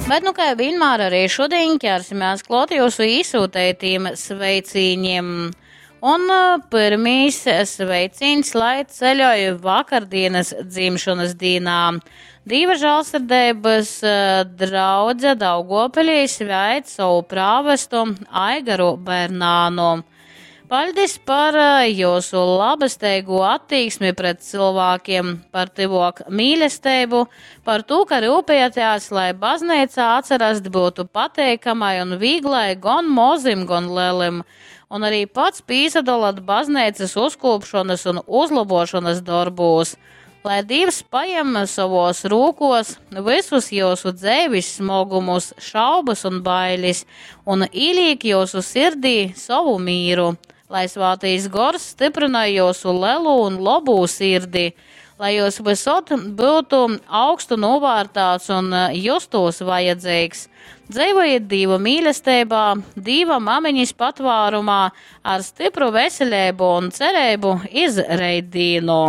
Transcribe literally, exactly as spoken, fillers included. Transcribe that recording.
Bet, nu, kai vienmēr, arī šodien ķersimies klāt jūsu īsūtētīm sveicīņiem. Un pirmīs sveicīns, lai ceļoju vakardienas dzimšanas dīnā. Dīva žālsirdības draudze Daugopilī sveic savu prāvestu Aigaru Bernānu. Paļdis par jūsu labesteigo attieksmi pret cilvēkiem, par tyvok mīlestību, par to, ka rūpējaties, lai baznīcā atcerast būtu pateikamai un vīglai gan mozim, gan lelim, un arī pats pīsadolat baznīcas uzkopšanas un uzlabošanas darbūs. Lai Dievs pajem savos rūkos visus jūsu dzēvis smogumus, šaubas un bailes, un īlīk jūsu sirdī savu mīru. Lai svātīs gors stiprina jūsu lelu un lobu sirdi, lai jūs visot būtu augstu novērtāts un justos vajadzīgs. Dzīvojiet Dieva mīlestībā, Dieva mamiņas patvārumā, ar stipru veselību un cerību iz reitdīnu.